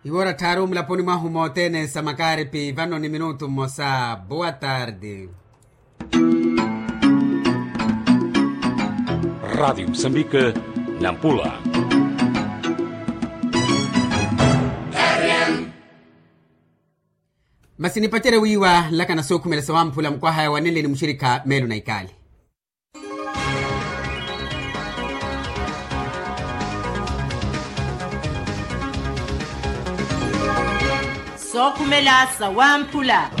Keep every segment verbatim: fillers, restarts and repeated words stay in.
Iwoora tthaaru mulaponi mwahu mothene sa makaaripi vano ni minutu mmosa. Boa tarde. Radiyo musambike, nampula. Masi nipacerye wiiwa nlakana sookhumela sawamphula mukwahaya wanenle ni muxirikha meelo na ikaali. Sookhumela sawamphula.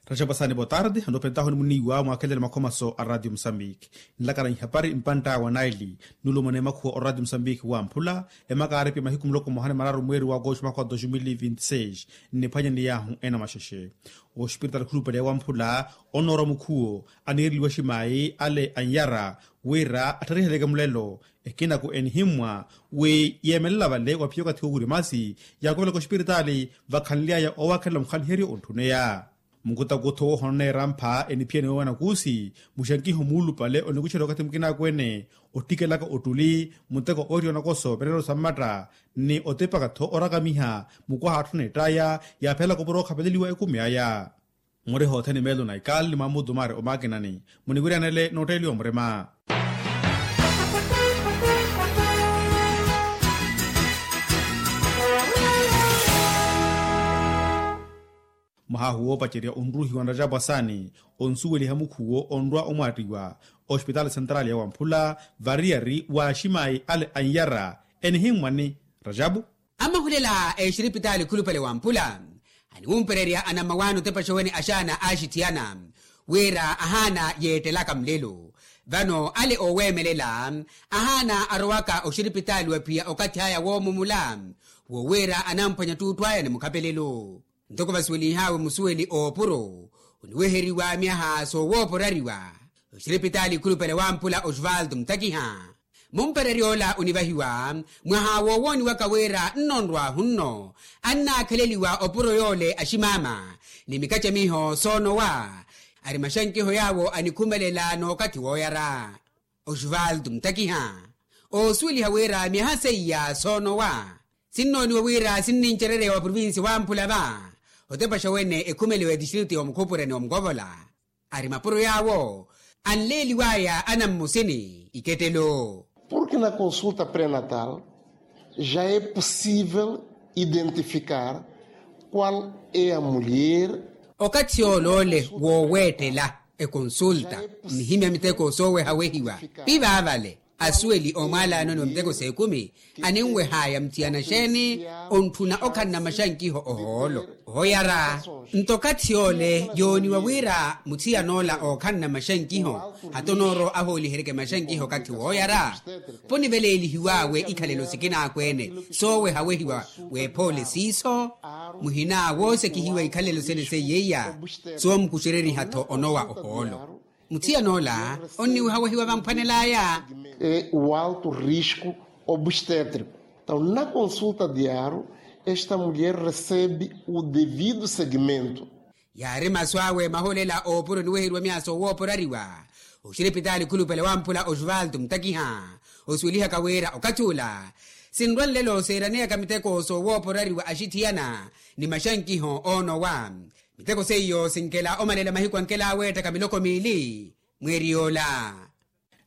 Raxapu asaani botarde anoophentahu ni muniiwa mwakhelele makhomaso a radiyo musambiki. Nlakana ihapari mpantta wa naili nulumana emakhuwa oradiyo musambiki wamphula. Emakaaripi mahiku muloko mmoha ni mararu mweeri wa agosto mwaka wa dos mil vinti seis. Nniphwanya ni yaahu ena maxexe oxipiritaali khulupale ya wamphula onoora mukhuwo aniireliwa ximayi ale anyara wira atthariheleke mulelo. Ekinaku enihimmwa wi yeemelela vale waphiya okathi wowiri masi yaakovelaka oxipiritaali vakhanly'aya owakhelela mukhaliheryo ontthuneya. Mukutakutho woohona oneera mpha eniphiyani woowana kuusi muxankiho muulupale onikuxerya okathi mukinakwene ottikelaka ottuli muteko ooriwa nakoso vereero sa mmatta ni otipaka-tho orakamiha mukwaha atthu neett'aya yaaphelaka opuro okhapeleliwa ekumi aya. Muri hothene meelo na ikaali ni mwamutumari omaakinani muniwiryanele nootteeliwa murima. Mwaha ahu woopacerya onruuhiwa nrajapu asaani onsuweliha mukhuwo onrwa omwaattiwa oxipitaali sentrali ya wamphula variyari wa aximayi ale anyara enihimmwa ni rajapu. Amahulela exiripitaali khulupale wamphula aniwumpererya anammawaani otepaxa wene axaana aaxithiyana wira ahaana yeettelaka mulelo. Vano ale ooweemelela ahaana arowaka oxiripitaali waphiya okathi aya woomumula wowira anamphwanya ttuuttu aya ni mukhapelelo. Ntoko vasuwelinhaawe musuweli oopuro oniweheriwa myaha soowooporariwa oxiripitaali khulupale wamphula osvaldo mutakiha. Mumpererya ola onivahiwa mwaha woowooniwaka wira nnonrwahu nno annaakheleliwa opuro yoole aximaama ni mikacamiho soonowa ari maxankiho yaawo anikhumelela n'okathi wooyara. Osvaldo mutakiha oosuweliha wira myaha seiya soonowa sinnooniwa wira sinnincerereya wa provincia wamphula va otepaxa wene ekhumeliwa etistritu ya omukhupurani wa mukovola. Ari mapuro yaawo anleeliwaya anammusini ikettelo. Porque na consulta pré-natal já é possível identificar qual é a mulher. Okathi yoole ole wooweettela ekonsulta nnihimya miteko soowehawehiwa pi vaavale asuweli oomwaalaanoni wa miteko s'ekumi aninwehaya muthiyana xeeni ontthuna okhanna maxankiho ohoolo. Ohooyara nto okathi yoole yooniwa wira muthiyan'ola ookhanna maxankiho hata onooro ahooliheryeke maxankiho okathi wooyara. Poniveleelihiw'awe ikhalelo sikin'akweene soowehawehiwa w'ephoole siiso muhina woosekihiwa ikhalelo sene seiyeiya soomukuxereriha-tho onowa ohoolo. Muthiyan'ola onniwehawehiwa vamphwanel'aya. É o alto risco obstétrico. Então na consulta diário esta mulher recebe o devido segmento. Yaari masu awe maholela oopuro oniweheriwa myaha soowooporariwa oxiripitaali khulupale wamphula osvaldo mutakiha osuwelihaka wira okathi ula sinrwa nlelo seeraneyaka miteko soowooporariwa axithiyana ni maxankiho oonowa. Miteko seiyo sinkela omalela mahiku ankela aweettaka miloko miili mweeri yoola.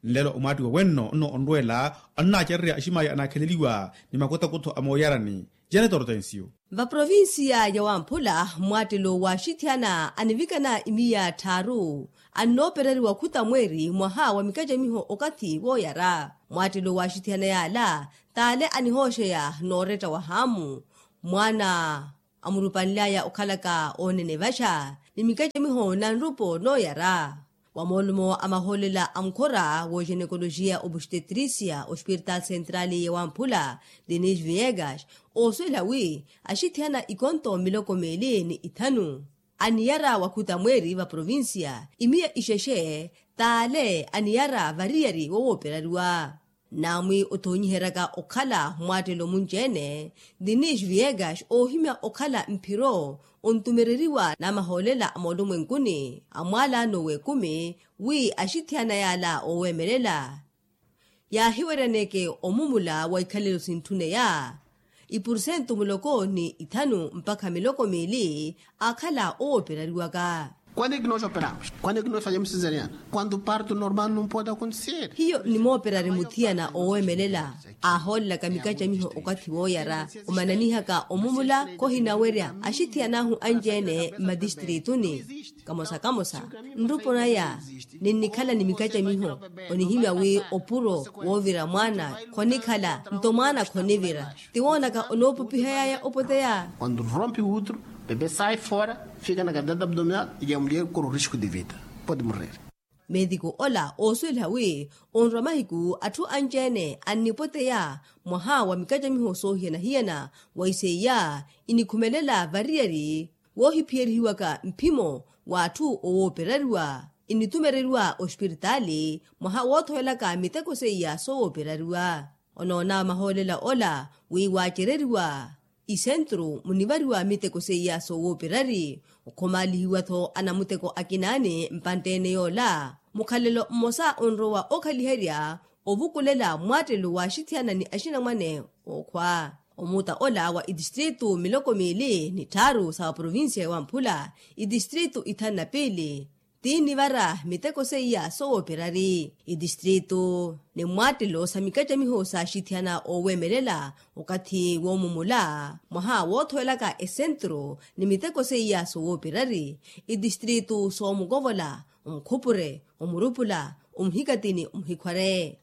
Nlelo omwaattiwa wenno nno onrweela annaacererya aximaya anaakheleliwa ni makutakutho a mooyarani. Janet hortensio. Vaprovincia ya wamphula mmwaattelo w'axithiyana anivikana imiya tthaaru annoopereriwa khuta mweeri mwaha wa mikacamiho okathi wooyara. Mmwaattelo w'axithiyana yaala t'ale anihooxeya nooretta wa haamu mwaana amurupanly'aya okhalaka oonene vaxa ni mikacamiho na nrupo nooyara. Wa moolumo a mahoolela a mukhora w'oxenekoloxiya obstetrícia ospiritaali sentrali ya wamphula denis viegas oosuwela wi axithiyana ikonto miloko meeli ni ithanu aniyara wakhuta mweeri va provincia imiya ixexe t'ale aniyara variyari wowooperariwa. Naamwi otoonyiheryaka okhala mmwaattelo munci-ene, dinis viegas oohimya okhala mphiro ontumereriwa n'amahoolela a moolumwenkuni a mwaalaano w'ekumi wi axithiyana yaala ooweemelela yaahiweryaneke omumula wa ikhalelo sintthune ya ipursentu muloko ni ithanu mpakha miloko miili aakhala owooperariwaka. Kwani kinoxoperamos kwani kinoxoperamos kwantu parto normal num pode akonteseri. Hiyo nimooperari muthiyana oweemelela aahoolelaka mikacamiho okathi wooyara omananihaka omumula. Kohinawerya axithiyan'ahu anci-ene mmatistriituni kamosa kamosa nrupo naya ninnikhala ni mikacamiho onihimya wi opuro woovira mwaana khonikhala nto mwaana khonivira ti woonaka onoopupihayaya opoteya. Kwantu rompi utru bebe sai fora fika na kantata abdominal ya mulher koro risku de vida. Pode morrer. Meetiku ola oosuweliha wi onrwa mahiku atthu anci-ene annipoteya mwaha wa mikacamiho soohiyana-hiyana wa iseiya inikhumelela variyari woohiphiyerihiwaka mphimo w'atthu owooperariwa initumereriwa ospiritaali mwaha woothowelaka miteko seiya sowooperariwa. Onoona mahoolela ola wi waacereriwa isentru munivariwa miteko seiya sowooperari okhomaalihiwa-tho anamuteko akinaani mpantte-ene yoola mukhalelo mmosa onrowa okhaliherya ovukulela mwaattelo waaxithiyana ni axinamwane ookhwa omuta ola wa itistritu miloko miili ni tthaaru sa provincia ya wamphula itistritu ithanu na piili tiinivara miteko seiya sowooperari itistritu ni mmwaattelo sa mikacamiho saaxithiyana ooweemelela okathi woomumula mwaha woothowelaka esentru ni miteko seiya sowooperari itistritu soomukovola omukhupure omurupula omuhikatini omuhikhware.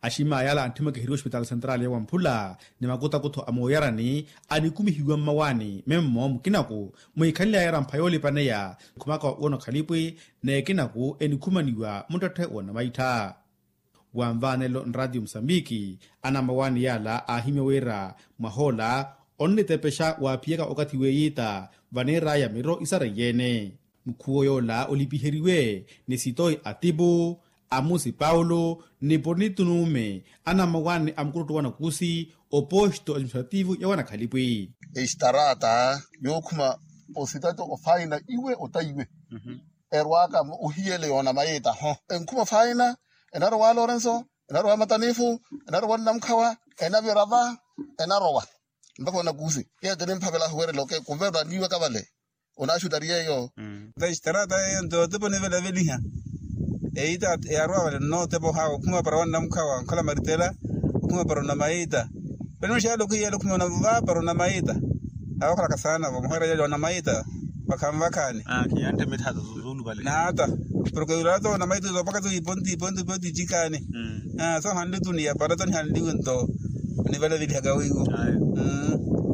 Aximaya ala antthimaka ehiri ospitaali sentrali ya wamphula ni makutakutho a mooyarani anikumihiwa mmawaani memmo mukinaku muhikhanly'aya erampha yoolipaneya khumaka woona okhalipwi n'ekinaku enikhumaniwa muttetthe w'onamaittha. Wanvaanelo nraatiyo musambiki anamawaani yaala aahimya wira mwahoola onnitepexa waaphiyaka okathi w'eyiita vaneer'aya miro isareiye-ene. Mukhuwo yoola olipiheriwe ni sitoi atipu amusi paulo ni ponito nuume anamawaani a mukuruttu wa nakusi oposto administrativu ya wanakhalipwi. Estarata yookhuma ositati ofaina iwe ota iwe erwaka ohiyele yoona mayita ho enkhuma ofaina enarowa lorenso enarowa matanifu enarowa nnamukhawa enavira va enarowa mpakha onakusi yeyo tinimphavela ahuwerela oke kuverwa niiwaka vale. Onaxutari yeyo. Nto extarata yeyo nto otepo nivelaveliha eita yarowa vale nno otepo hawe okhuma para wa nnamukhawa onkhala maritela okhuma para onamaita. Peno xaala okhiyela okhuma onava para onamaita. Awakhalaka saana vo muhwera yali onamaita vakhanvakhani. Naata porke yulato na maithuzo paka tu iponti iponti iponti icikani. Sohanli tu ni yapara to nihanliwe nto nivala vilihaka wiwo.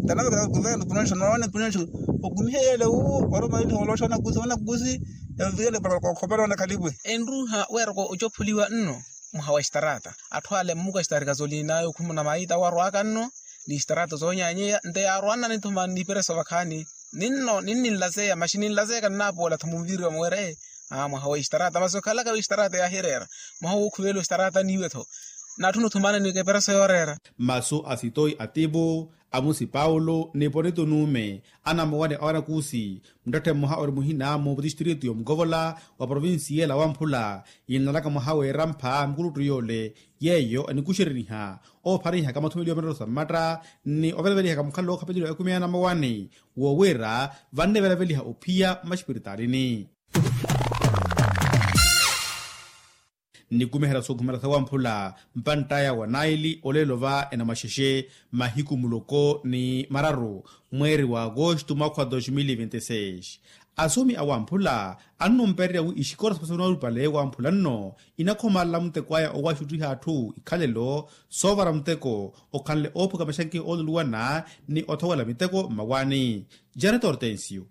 Tana kuvela kupunansho nawane kupunansho okumihe yele wu oro maili holoshona kusi wana kusi. Evele para kokhopela wana kalipwe. Enruha weroko ocophuliwa nno mwaha wa xitarata atthu ale mmuka xitarika zolinayo khumuna maita warwaka nno ni xitarata zonyanyeya nte yarwanna nithuma nipereso vakhaani. Ninno ninninlazeya maxi ninlazeya kannapoola tho munviriwa muwere. Aa mwaha wa ixtarata masi okhalaka wi ixtarata yaahireera mwaha wookhuvela oxtarata niiwe tho. Natthuna othumana ni kepereso yooreera. Masu a sitoi atipu amusi paulo ni ponito nuume anamowane awanakusi muttetthe mmoha ori muhina mu tistritu yomukovola wa provincia ela wamphula. Yinnalaka mwaha w'erampha mukuluttu yoole yeeyo enikuxereniha oopharihaka mathumeliwa mattoro sa mmatta ni ovelavelihaka mukhalelo ookhapelela ekumi ya namawani wo wira vannevelaveliha ophiya mmaxipiritalini. Nnikumihela sookhumela sawamphula mpantt'aya wa naili olelo va enamaxexe mahiku muloko ni mararu mweeri wa agosto mwaakha wa dos mil e vinte e seis. Asumi awamphula annumpererya wi ixikola saphasoni olupale wamphula nno inakhomalela muteko aya owaxuttiha atthu ikhalelo soovara muteko okhanle oophuka maxanki ooluluwana ni othowela miteko mmawaani. Janet hortensio.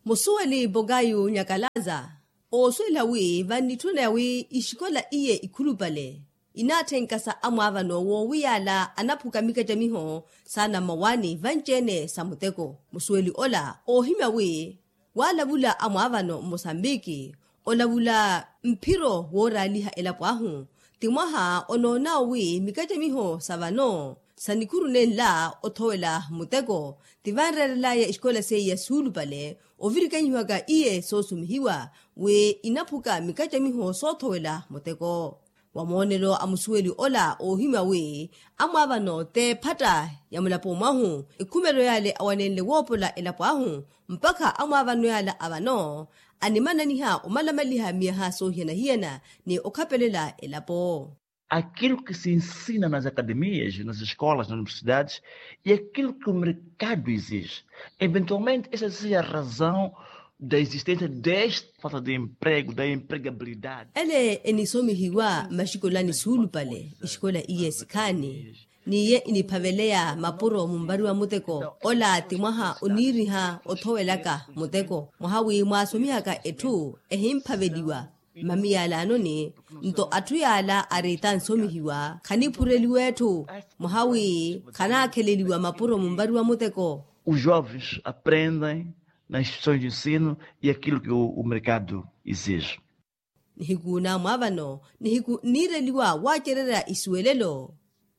Musuweli pokayu nyakalaza oosuwela wi vannitthuneya wi ixikola iye ikhulupale inaatthenka sa amwaavano woowiyaala anaphuka mikacamiho saana mmawaani vanci-ene sa muteko. Musuweli ola oohimya wi waalavula amwaavano mmosambiki olavula mphiro wooraaliha elapo ahu Ti mwaha onoon'awe wi mikacamiho sa vano sa nikhuru nenla othowela muteko, ti vanreerel'aya exikola seiya suulupale ovirikanyihiwaka iye soosumihiwa wi inaphuka mikacamiho soothowela muteko. Wa moonelo a musuweli ola oohimya wi amwaavano t'ephatta ya mulapo mwahu, ekhumelo yale awanenle woopola elapo ahu mpakha amwaavano yala a vano animananiha omalamaliha miyaha soohiyana-hiyana ni okhapelela elapo. Aquilo que se ensina nas academias, nas escolas, nas universidades, e aquilo que o mercado exige. Eventualmente essa seja a razão da existência desta falta de emprego, da empregabilidade. Ele enisomihiwa maxikolani suulupale exikola iye sikhaani, n'iye iniphaveleya mapuro munvariwa muteko ola ti mwaha oniiriha othowelaka muteko mwaha wi mwaasomihaka etthu ehimphaveliwa. Mami yaalaanoni nto atthu yaala ariita nsomihiwa khaniphureliwa etthu mwaha wi khanaakheleliwa mapuro munvariwa muteko. Os jovens aprendem nas instituições de ensino e aquilo que o mercado exige. Nihiku namwaavano nihiku nniireliwa waacererya isuwelelo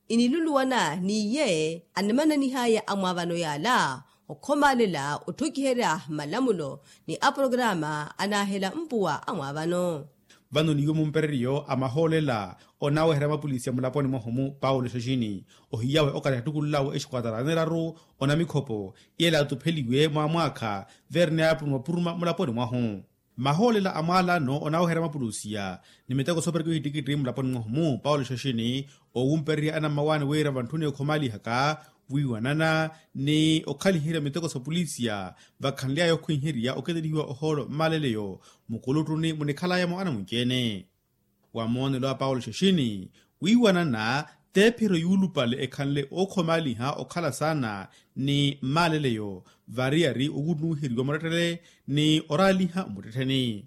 iniluluwana n'iye animananihaya amwaavano yaala okhomaalela otthokiherya malamulo ni aporokarama anaahela mpuwa amwaavano. Vano n'iwo mumpereryo a mahoolela onaaweherya mapolisi a mulaponi mwahu-mu paulo xaxini ohiyawe okathi attukul'awe exikuwatara aneraru onamikhopo iyela atupheliwe mwaamwaakha veerene aapuruma-puruma mulaponi mwahu. Mahoolela a mwaalano onaaweherya mapulusiya ni miteko soopereka ohittikitti mulaponi mwahu-mu paulo xaxini oowumpererya anammawaani wira vantthuni okhomaalihaka wiiwanana ni okhaliherya miteko sa pulisiya vakhanly'aya okhwiherya oketelihiwa ohoolo mmaaleleyo mukuluttuni munikhal'aya-mo anamunci-ene. Wa moonelo a paulo xaxini wiiwanana t'ephiro yuulupale ekhanle ookhomaaliha okhala saana ni mmaaleleyo variyari okunnuwiheriwa murettele ni oraaliha mmuttettheni.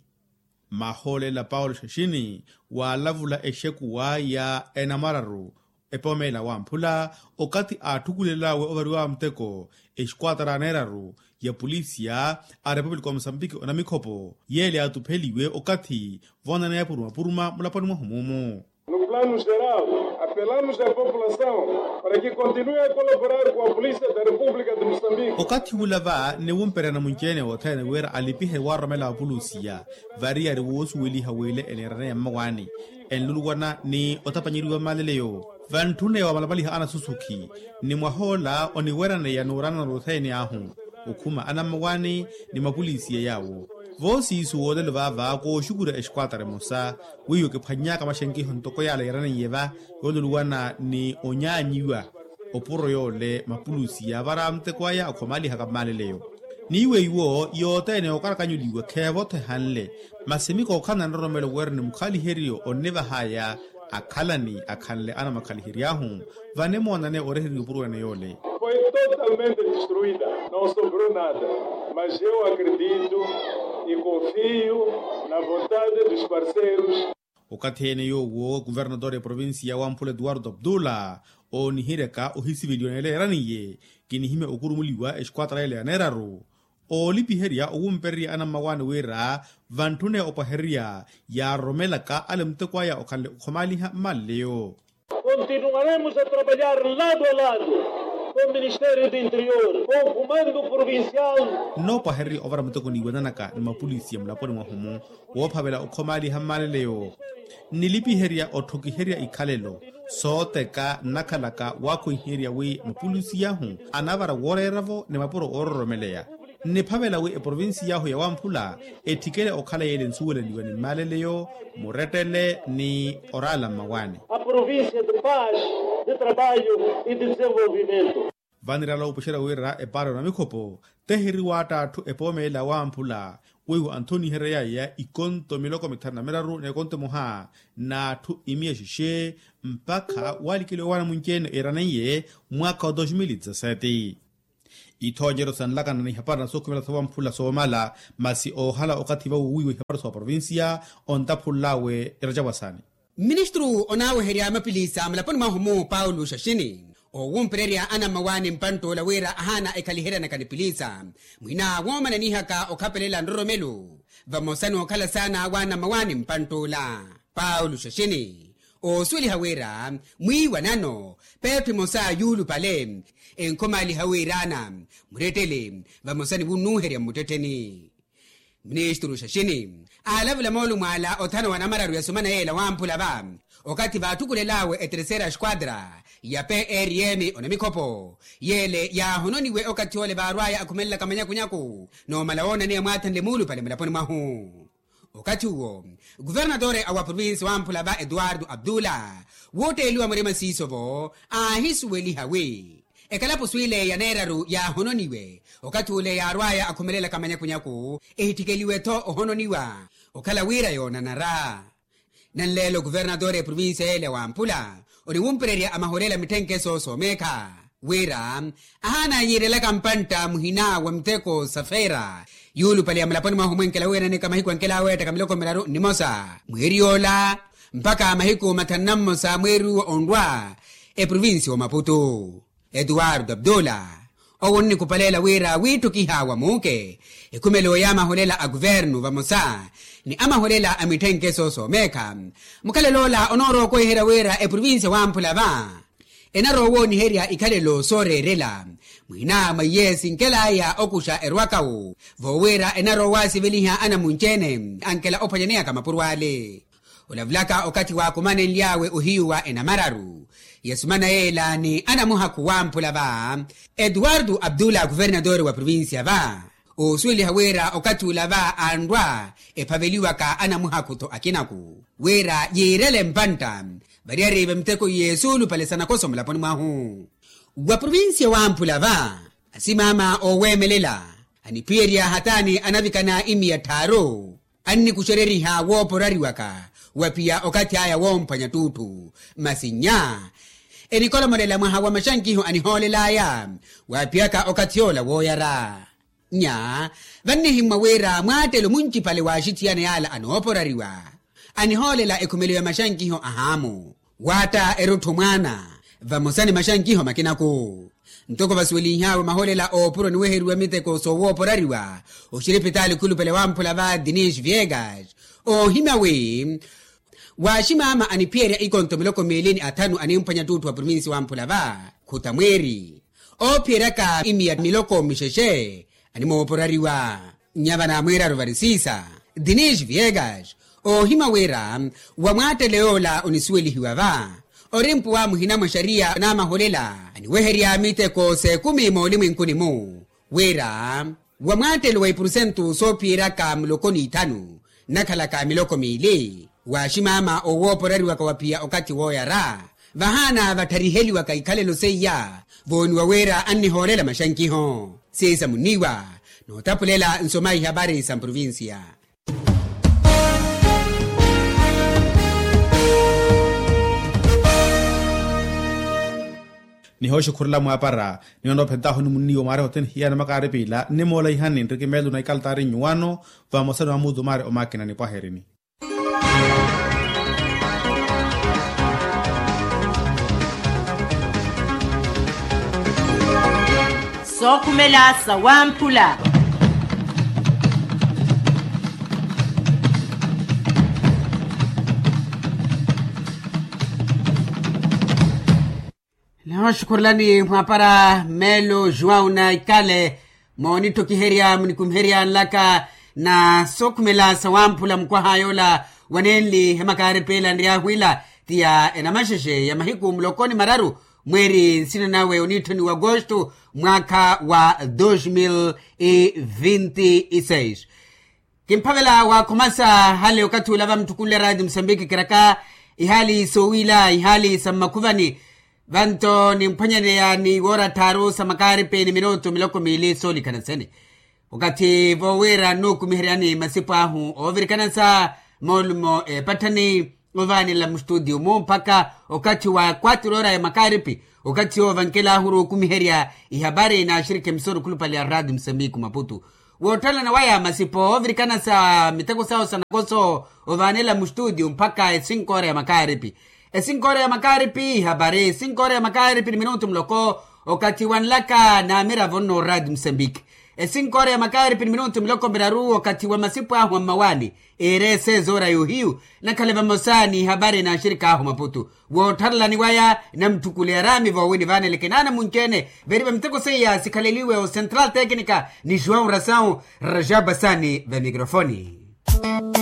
Mahoolela paulo xaxini waalavula exekuwa ya enamwararu epoomeela wamphula okathi aatthukulel'awe ovarew'awe muteko exikuwatara aneeraru ya pulisiya a repupulika wa musambiki onamikhopo yeele yaatupheliwe okathi voonaneya puruma-puruma mulaponi mwahu mumu. No plano geral apelamos a população para que continue a colaborar com a polícia da república de musambiki. Okathi wula va niwumperya namunci-ene othene wira alipihe waaroromela wa pulusiya variyari woosuweliha w'ile eneeraneya mmawaani enluluwana ni otapanyeriwa mmaleleyo vantthune wamalamaliha anasusukhi ni mwahoola oniweraneya n'uranana othene ahu okhuma anammawaani ni mapulisiya yaawo. Voosiisu woolelo vaava kooxukurya exikuwatara emosa wiiwo kiphwanny'aka maxenkiho ntoko yaala yeeraneiye va yooluluwana ni onyaanyiwa opuro yoole mapulusi yaavara muteko aya okhomaalihaka mmaaleleyo. N'iwe iwo yothene yookarakanyuliwa kheevo-tho ehanle masi mikookhala na nroromelo wira ni mukhaliheriyo onnivahaya akhalani akhanle anamwakhalihery'ahu vanimoonane oreheriwa opuro ene yoole. Foi totalmente destruida, não sobrou nada. Mas eu acredito e confio na vontade dos parceiros. Okathi ene yoowo kuvernatore ya provincia wamphula etuwarto abdula oonihiryaka ohisiveliwa neela yeeraniye kinihimya okurumuliwa exikuwatara yeela ya neeraru oolipiherya owumpererya anammawaani wira vantthune opwahererya yaaroromelaka ale muteko aya okhanle okhomaaliha mmaleleyo. Continuaremos a trabalhar lado a lado com o ministério do interior com o comando provincial. Nnoopwahererya ovara muteko niiwananaka ni mapulisiya mulaponi mwahu-mu woophavela okhomaaliha mmaleleyo nnilipiherya otthokiherya ikhalelo sooteka nnakhalaka waakhwiherya wi mapulisiya ahu anavara wooreera-vo ni mapuro oororomeleya. Nniphavela wi eprovincia ahu ya wamphula etthikele okhala yeele nsuweleliwa ni mmaleleyo murettele ni oraala mmawaani. A provincia de paz, de trabalho e de desenvolvimento. Vanirala opuxerya wira epaara ya onamikhopo tehiri waatta atthu epoomeela wamphula weiwo anthoniheryaya ikonto miloko mithanu na miraru n'ekonto emoha n'atthu imiya xexe mpakha waalikeliwa waana munci-ene eraneiye mwaakha wa dos mil e dezassete. Ithoonyeryo sanlakana ni ihapara na sookhumela sa wamphula soomala masi oohala okathi vawo wiiwa ihapara sa oprovincia ontaphul'awe eracapwasaani. Mministru onaaweherya mapilisa mulaponi mwahu-mu paulo xaxini oowumpererya anammawaani mpantt'ula wira ahaana ekhaliheryanaka ni pilisa mwina woomananihaka okhapelela nroromelo vamosa n'okhala saana w'anammawaani mpantt'ula paulo xaxini Oosuweliha wira mwiiwanano peetho emosa yuulupale enkhomaaliha wiiraana murettele vamosa ni wunnuuherya mmuttettheni. Ministru xaxini aalavula moolumo ala othana wa namararu ya sumana yeela wamphula va okathi vaathukulel'awe eterceira esquadra ya prm onamikhopo yeele yaahononiwe okathi ole vaarw'aya akhumelelaka manyakunyaku noomala woonaneya mwaathanle muulupale mulaponi mwahu. Okathi uwo kuvernatore a wa provincia wamphula va etuwartu abdula wootteeliwa murima siiso-vo aahisuweliha wi ekalapusu ile ya neeraru yaahononiwe okathi ule yaarw'aya akhumelelaka manyakunyaku ehitthikeliwe-tho ohononiwa okhala wira yoonanara. Nanleelo kuvernatore eprovincia yeele wamphula oniwumpererya amaholela mitthenkeso soomeekha wira ahaana yiirelaka mpantta muhina wa miteko sa feera yuulupale ya mulaponi mwahu omwenkela wiiraneka mahiku ankela aweettaka miloko miraru nnimosa mweeri yoola mpakha mahiku mathanu na mmosa mweeri uwo onrwa eprovincia omaputu. Etuwartu abdula owo onnikupaleela wira wiitthukiha wa muuke ekhumelo y'amaholela a kuvernu vamosa ni amaholela a mitthenkeso soomeekha mukhalelo ola onoorowa okweherya wira eprovincia wamphula va enaroowooniherya ikhalelo sooreerela mwina mwa iye sinkel'aya okuxa erwakawu voowira enaroowaasiveliha anamunci-ene ankela ophwanyaneyaka mapuro ale. Olavulaka okathi waakumanenly'awe ohiyu wa enamararu ya sumana yeela ni anamuhakhu wamphula va etuwartu abdula kuvernatore wa provincia va oosuweliha wira okathi ula va anrwa ephaveliwaka anamuhakhu-tho akinaku wira yiirele mpantta variyari va miteko iye suulupale sa nakoso mulaponi mwahu. Wa provincia wamphula va asimaama ooweemelela aniphiyerya hataani anavikana imiya tthaaru annikuxereriha wooporariwaka wa phiya okathi aya woomphwanya ttuutthu masi nnya enikolomolela mwaha wa maxankiho anihoolel'aya waaphiyaka okathi yoola wooyara. Nnya vannihimmwa wira mwaattelo muncipale w'axithiyana yaala anooporariwa anihoolela ekhumelo ya maxankiho a haamu waatta erutthu mwaana vamosa ni maxankiho makinaku. Ntoko vasuwelinh'awe maholela oopuro niweheriwa miteko soowooporariwa oxiripitaali khulupale wamphula va dinis viegas oohimya wi waaximaama aniphiyerya ikonto miloko miili ni athanu animphwanya ttuutthu wa provincia wamphula va khuta mweeri oophiyeryaka imiya miloko mixexe animooporariwa. Nnya vana mweeraru varisisa dinis viegas oohimya wira wa mwaattelo yoola onisuwelihiwa va orimpuwa muhina mwa xariya n'amaholela aniweherya miteko s'ekumi moolimwenkuni-mu wira wa mwaattelo wa ipurusentu soophiyeraka muloko n'ithanu nnakhalaka miloko miili waaximaama owooporariwaka wa phiya okathi wooyara vahaana vathariheliwaka ikhalelo seiya vooniwa wira annihoolela maxankiho. Siisa munniiwa nootapulela nsoma ihapari sa mprovincia. Nihooxukhurela mwaapara niwene ophentahu ni munniiwa mwaari hothene hiyana makaari piila nnimoola ihani nriki meelo na ikaltaari nnyuwano vamosa ni mamuutu maari omaakina nipwaherini. Sookhumela sawamphula. Nihooxukhurelani mwaapara meelo juwau na ikale moonittokiherya munikumiherya nlaka na sookhumela sawamphula mukwaha yoola wanenli hemakaari piila nryaahu ila ti ya enamaxexe ya mahiku muloko ni mararu mweeri nsina nawe oniitthoni wa agosto mwaakha wa dos mil e vinti e seis. Kimphavela waakhumasa hale okathi ula vamutthukunle raati musambiki kiraka ihaali soowila ihaali sa mmakhuvani vanto nimphwanyaneya ni woora tthaaru sa makaaripi ni minutu miloko miili soolikhana sene. Okathi voowira nnuukumiheryani masipo ahu oovirikana sa moolumo epatthani ovaanela mustutiyo-mu mpakha okathi wa kwatiro ora ya makaaripi okathi yoovo vankelahu oruukumiherya ihapari n'axirikhi emisoro khulupale ya raati musambiki maputu. Woottalana waya masipo oovirikana sa miteko sawo sa nakoso ovaanela mustutiyo mpakha esinkoora ya makaaripi. Esinkoora ya makaaripi ihapari esinkoora ya makaaripi ni minutu muloko okathi wa nlaka n'amiravo nno raati musambiki. Esinkoora ya makaari pini minutu miloko miraru wakathi wa masipu ahu a mmawaani, eere eseezoora y'ohiyu. Nakhale vamosa n'ihapari n'axirik'ahu maputu woottharelani waya namutthukuleya araami voowini vaaneleke naana munci-ene. Veeri va miteko seiya sikhaleliwe o central tecnica ni juwau rasawu. Rajaba sani va mikrofoni.